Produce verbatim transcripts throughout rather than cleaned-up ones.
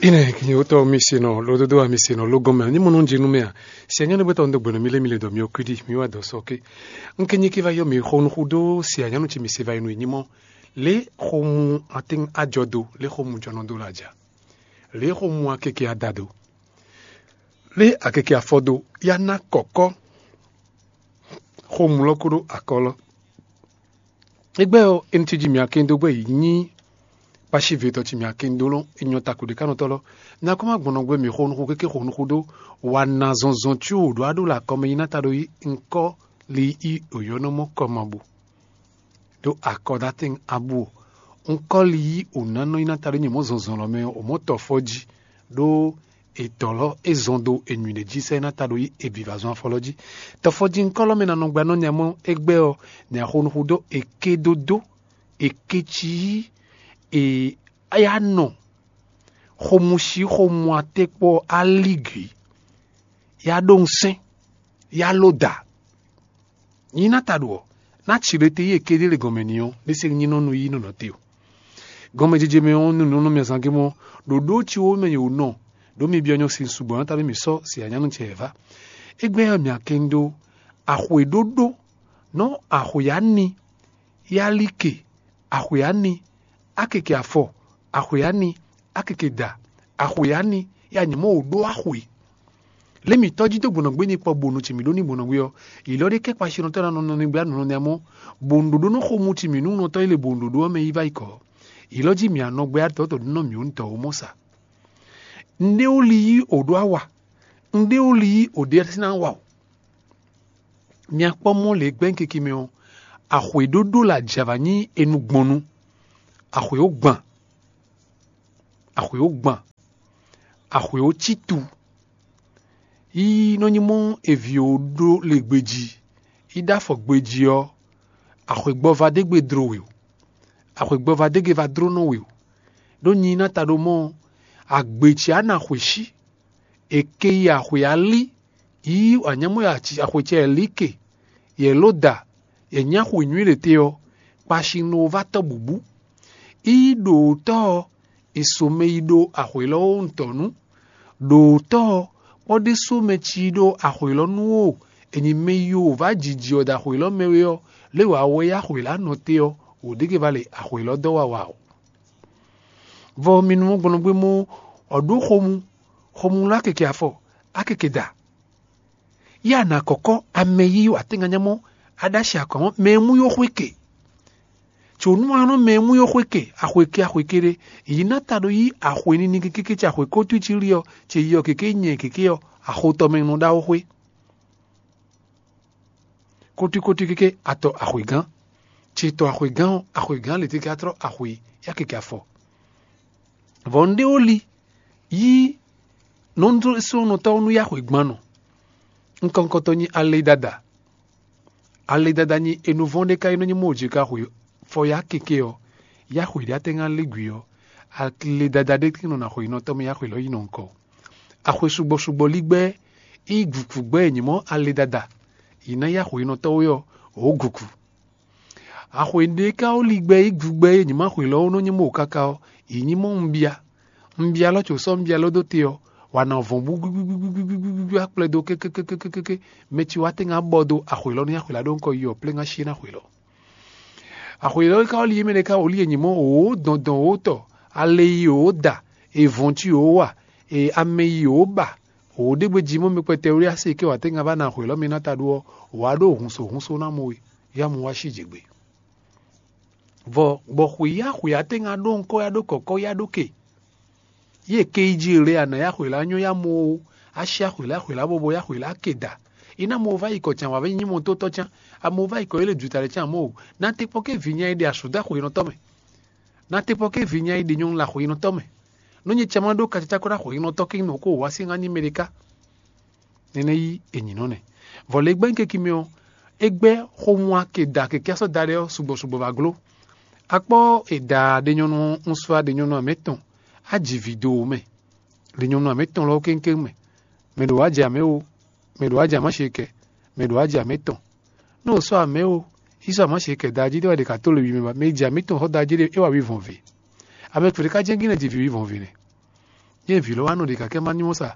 Ine kinyewotɔ mi se nɔ lododo a mi se nɔ logɔn mɛ ni mo nɔ jenu mɛ a? Si anyanu bɛ tɔ ndo gbɛnɔ mi le mi le dɔ mi okidi mi wa dɔ sɔ ke. Nke nyi ki va yɔ mi xo nuxu do si anyanu ci mi se va yi nu yi nyimɔ. Le xo mu atin ajɔ do, le xo mu jɔnɔ do la ja. Le xo mu akeke ada do, le akeke afɔ do, ya na kɔkɔ xo mu lɔ ko ɖo akɔ lɔ. Égbɛ́ ɔ́, é ní cí jí mǐ akɛ́n dó gbɛ́ yě nyí kpácívetɔ́ ce mǐ akɛ́n dó lɔn é nyɔ́ tako ɖě ká nɔ tɔ́ lɔ. Nya kɔ́ má gbɔn nɔ gbɛ́ mǐ xo nuxu kéké xo nuxu dó wa na zɔnzɔn cí wǒ ɖó aɖó lɛ akɔmɛ yi ná ta ɖó yí ŋkɔ́ li yí òyɔ́nɔmɔ kɔ ma bu. Ɖó akɔdatɛn abú o. Ŋkɔ́ li yí ònánɔ yi ná ta ɖó nyɛ mɔ̌ zɔnzɔn lɔ mɛ ɔ́, ò mɔ̌ tɔ fɔ́ jí ɖó è tɔ̌ lɔ é zɔn dó è nyǔɖé jí sɛ́ ná ta ɖó yí è bǐ vǎ zɔn afɔ lɔ jí. Tɔfɔjí ŋkɔ́ lɔ mɛ ná nɔ gba nɔ nya mɔ égbɛ́ ɔ́, nya xo nuxu dó è ké dó dó, è ké cí yí è yá nɔ xomúsí xomú atékpɔ́ alígǐ, yá ɖó ŋsɛ́n, yá ló da. Nyi ná ta ɖo ɔ́, ná ci ɖe te yí è ké ɖé le gɔn mɛ ni ɔ́, ní se nyí nɔ nú yí nɔnɔ te o. Gɔnmɛjijɛ mɛ ɔ́, nú nǔ nú mɛ zán gé mɔ ɖo ɖó ci wó mɛ yě wǒ nɔ, ɖó mi byɔ́ nyɔ́ sin sugbɔ̌ ná ta ɖó mi sɔ́ si anyánu ce wɛ vá. Égbɛ́ ɔ́, mǐ akɛ́n dó axwe ɖóɖó nɔ́ axwe ani, yálíke, axwe ani, akeke afɔ, axwe ani, akeke da, axwe ani, ya nyɛ mɔ wǒ ɖó axwe. Lě mǐtɔn jí dó gbɔnɔgbé ní kpɔ bonu ce mǐ ɖó ní gbɔnɔgbé ɔ́, yě lɔ ɖé kɛ́ kpasinɔtɔ́ ná nɔ nɔ ní gbé anɔ̌ nɛ́ mɔ́, bonu ɖó nɔ xo mu ci mǐ nú nɔtɔ́ yi le bonu ɖó ɔ́ mɛ yi vá yi kɔ̌. Yě lɔ jí mǐ anɔ gbé adɔ̌tɔ́ ɖó nɔ mǐ ó ní dɔ̌ ó mɔ sa. Un ɖé ó li yí o ɖó awa, un ɖé ó li yí o ɖé sín awa o. Mia kpɔ́ mɔ lě gbɛ́nkeke mɛ ɔ́, axwe ɖóɖó la jɛ avǎ nyí enu gbɔnnu, axwe ó gban, axwe ó gban, axwe ó cí tu. Yi nɔ nyi mɔ evi ó ɖó le gbejí, yi ɖó afɔ gbejí ɔ́, axwegbɔva ɖé gbe dló we o, axwegbɔva ɖé gbe va dló nɔ we o. Ɖó nyi ná ta ɖó mɔ agbe ce á ná xwe sí. È ke yi axwe alí, yí anyámɔ́ axwe ce lǐ ke, yɛ ló da, yɛ nyí axwe nywí ɖě te ɔ́, kpasin nɔ vá tɔ́ bǔbú. Í ɖo tɔ́ ɔ́, è so mɛ yi ɖo axwe lɔ ɔ́ ŋutɔ́ nu. Ɖo tɔ́ ɔ́, kpɔ́ ɖésú mɛ ci ɖo axwe lɔ nu ó, è nyi mɛ yi wǒ vá jiji ɔ́ ɖo axwe lɔ mɛ wɛ ɔ́, lě wǎ wɛ yá axwe lɔ anɔ te ɔ́, wǒ ɖé ke va le axwe lɔ dɔ́ wa wa o. Vɔ mi nu gbɔn gbé mɔ ɔ̌ ɖó xomú, xomú lɔ akeke afɔ, akeke da. Yá nà kɔkɔ amɛ yí atɛnganyamɔ aɖási akɔmɔ mɛ e mú yó xwé ke. Tso nú anɔ mɛ e mú yó xwé ke axweke axweke ɖé, yǐ ná ta ɖo yí axwe nini kékéké ce axwe kótú ci lí ɔ́, ce yi ɔ́ kéké nyɛ kéké ɔ́, axotɔ mɛ nɔ ɖaxó xwé. Kótúkótú kéké atɔ axwegán, ce tɔ axwegán ɔ́, axwegán lě teke atrɔ axwe yá keke afɔ. Vɔ un ɖé ó li yí nɔ́ sɔ́nɔtɔ́ nú yá axwegban nɔ. Ŋkɔŋkɔtɔ nyi alɛdada. Alɛdada nyi enuvɔ́n ɖé ka yi nɔ nyi mɔ jě ka xwe fɔ yá keke ɔ́, yá xwe ɖé atɛ́ ŋá lé gwi ɔ́, alɛdada ɖé nɔ na xwe nɔ tɔ́ mɛ yá xwe lɔ yi nɔ ŋkɔ. Axwe sugbɔ sugbɔ lí gbɛ́, yi gǔkú gbɛ́ e nyí mɔ alɛdada, yi ná yá xwe nɔ tɔ́ wé ɔ́, wǒ gǔkú. Axwe ɖé ka ó li gbɛ yi gu gbɛ e nyí ma xwe lɔ ó nɔ nyí mɔ káká ɔ́, yi nyí mɔ un bia. Un bia lɔ tso sɔ́ un bia lɔ dó te ɔ́, wa nɔ vɔn búgbúgbúgbúgbú akplɛ dó kékékékékéké. Mɛ ci wá tɛ́ ŋá bɔ dó axwe lɔ ní axwe lá ɖó ŋkɔ yi ɔ́, plé ŋá sí ná xwe lɔ. Axwe lɔ ka ó li yé mɛ ɖé ka ó li e nyí mɔ wǒ dɔn dɔn wǒ tɔ, ale yi wǒ da, e vɔn ci wǒ wa, e amɛ yi wǒ ba, wǒ ɖé gbe jí mɔ mi kpɛtɛ wlí asi ke wǎ tɛ́ ŋá vá ná axwe lɔ mi ná ta ɖó ɔ́, wǎ ɖó hunso hunso ná mɔ we, yá mu wá sí jě gbe. Vɔ gbɔ xwǐ yá xwǐ atɛ́ ŋá ɖó ŋkɔ́ yá ɖó kɔ̌kɔ́ yá ɖó ke. Yě ke yi jí le a nǎ yá xwǐ lá nyɔ́ yá mɔ ó, á sí axwǐ lá xwǐ lá bɔbɔ yá xwǐ lá ke da. É ná mɔ va yi kɔ can wǎ nyí mɔ tó tɔ́ can, a mɔ va yi kɔ yé le jǔta lɛ can mɔ o. Ná te kpɔ́ ké vǐ nya yi ɖe asǔ dó axwǐnɔtɔ́ mɛ. Ná te kpɔ́ ké vǐ nya yi ɖe nyɔnu le axwǐnɔtɔ́ mɛ. Nú nyɛ cɛ ma ɖó kacacá kó ɖó axwǐnɔtɔ́ ké nɔ kó wá sí ŋá ní mɛ ɖé ká. Nɛnɛ yí è nyǐ nɔ nɛ. Vɔ le gbɛ́ ŋkeki mɛ ɔ́, é gbɛ́ xomua ke da kɛkɛ́ sɔ́ da ɖé ɔ́ sugbɔ sugbɔ va gló. Akpɔ́ è da ɖenyɔnu ɔ́, un sɔ́ ɖenyɔnu amɛ tɔn, á ji vǐ dó mɛ. Ɖenyɔnu amɛ tɔn lɔ kéŋkéŋ mɛ. Mɛ ɖo wá jɛ amɛ o, mɛ ɖo wá jɛ amá ce kɛ, mɛ ɖo wá jɛ amɛ tɔn. Nú o sɔ́ amɛ o, yi sɔ́ amá ce kɛ da jí ɖé wɛ ɖe ka tó le wi mɛ ba, mɛ jɛ amɛ tɔn xɔ da jí ɖé é wa wi vɔn ve. Amɛ kpɛɖé ka jɛ́n gínɛ ji vǐ wi vɔn ve nɛ. Nyɛ vǐ lɔ wá nɔ ɖe kakɛ má nyɔ́ sa.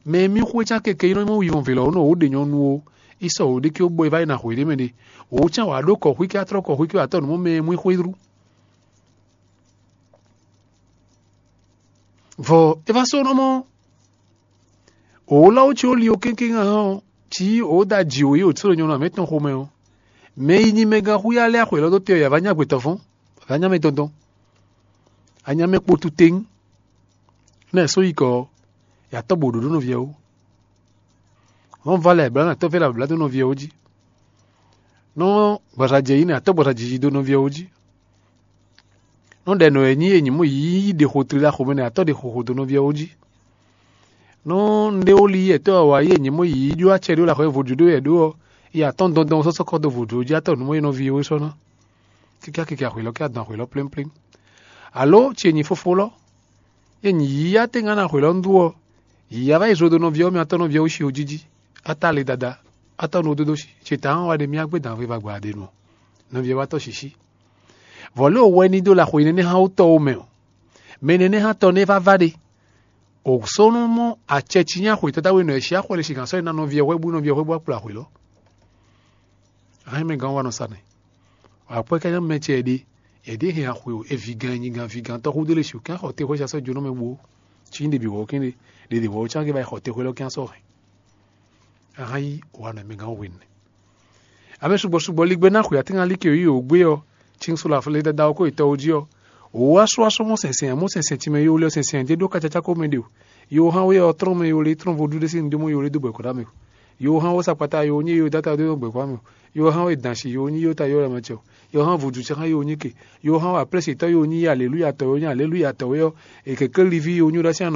Mɛ e mì xwé cán keke yi nɔ mɔ wivɔn vǐ lɔ wǒ nɔ wǒ ɖe nyɔnu ó. Yi sɔ wǒ ɖé kí ó bɔ yi vá yi na xwě ɖé mɛ ɖe. Wǒ cán wǎ ɖó kɔ́xwí kí á tlɔ́ kɔ́xwí kí wǎ tɔ́ nǔ mɔ mɛ e mú i xwé rú. Vɔ é vá sɔ́ nɔ mɔ wǒ lɔ wó cí ó li ó kéŋkéŋ hán ɔ́, cí wǒ da jǐ wǒ yi wǒ tló nyɔnu amɛ̌ tɔn xomɛ ɔ́, mɛ yi nyi mɛ gán xú yá lɛ́ axwě lɔ dó te ɔ́, yě vá nyá gbe tɔn fɔ́n, vá nyá mɛ tɔn tɔn. Anyá mɛ kpo tuteng nɛ́ só yi kɔ ɔ́, yě atɔ́ bǒ ɖó ɖó nɔví ɔ́ wú. Nɔ́ vá lɛ blǎ nɔ atɔ́ vɛ́ lɛ blǎ dó nɔví ɔ́ wú jí. Nɔ́ gbɔza jɛ yi nɛ atɔ́ gbɔza jiji dó nɔví ɔ́ wú jí. Nɔ́ ɖɛ nɔ e nyí e nyǐ mɔ yǐ ɖe xo tlila xomɛ nɛ atɔ́ ɖe xo xo dó nɔví ɔ́ wú jí. Nɔ́ un ɖé wó li yɛtɔ́ ɔ́ wǎ yi e nyǐ mɔ yǐ ɖó acɛ ɖó laxwɛ vodú ɖó yɛ ɖó ɔ́, yi atɔ́n dɔndɔn sɔ́ sɔ́ kɔ dó vodú ɔ́ jí atɔ́ nǔ mɔ yi nɔví ɔ́ wú sɔ́ ná. Kíká keke axwě lɔ kí adɔn axwě lɔ plémplém. Alo ce nyí fofó lɔ, yɛ nyǐ yíyá tɛ́ngan ná xwě lɔ nú ɔ́, yǐyá vá yi zlo dó nɔví ɔ́ mɛ atɔ́ nɔví ɔ́ wú shi o jíjí. Atá le dada, atɔ́ nú dódó shi ce ta hɔn wá ɖe mì agbé dǎn veva gbǎ ɖe nu ɔ́, nɔví ɔ́ wá tɔ́ sǐsí. Vɔ̌ lé o wɛ ní dó laxo yi nɛ́nɛ́ hán wú tɔ́ ó mɛ ɔ́, mɛ nɛ́nɛ́ hán tɔ́ nɛ́ vá vá ɖe. O sɔ́ nɔ mɔ acɛ cí nyí axwě tata we nɔ ɛ cí axwɛ le sigan sɔ́ yi ná nɔví ɔ́ hwɛ bú nɔví ɔ́ hwɛ bú akplɔ axwě lɔ. Ahɛn mɛ gán wa nɔ sa nɛ. Akwɛ́ ká nyí mɛ ce ɛɖe, ɛɖě hɛn axwe o, e vǐgán e nyi gan vǐgán tɔ́ xúdó lě sixú kɛ́n xɔ te xwé sasɔ́ jónɔ mɛ bó cí ɖě bǐ wɔ kɛ́n ɖe, ɖě ɖě wɔ cán gé ba yi xɔ te xwé lɔ kɛ́n sɔ́ hɛn. Ahán yí wa nɔ mɛ gán hwenu. Amɛ sugbɔ sugbɔ ligbɛ ná xwe atíngalí ke yí o gbé ɔ́, cín so la flé dada ɔ́ kó yi tɔwo jí ɔ́, wǒ wá sú asú mɔ sɛnsɛn mɔ sɛnsɛn tínmɛ yó lé ɔ́ sɛnsɛn jɛ ɖó kácácá ko mɛ ɖe o. Yo hán wé ɔ́ trɔ́n mɛ yo lé trɔ́n vodú ɖé sín dó mɔ yo lé dó bɔ kɔɖá mɛ o. Yo hán wó sakpata yo nyí yo dáta dó bɔ kɔɖá mɛ o. Yo hán wé dansi yo nyí yo ta yo lɛ mɛ cɛ o. Yo hán vodúnsi hán yo nyí ke. Yo hán wé aplɛ́sitɔ́ yo nyí aleluya tɔ́ yo nyí aleluya tɔ́ wé ɔ́, è kɛ̌kɛ́ liví yo nyí ɖó así anɔ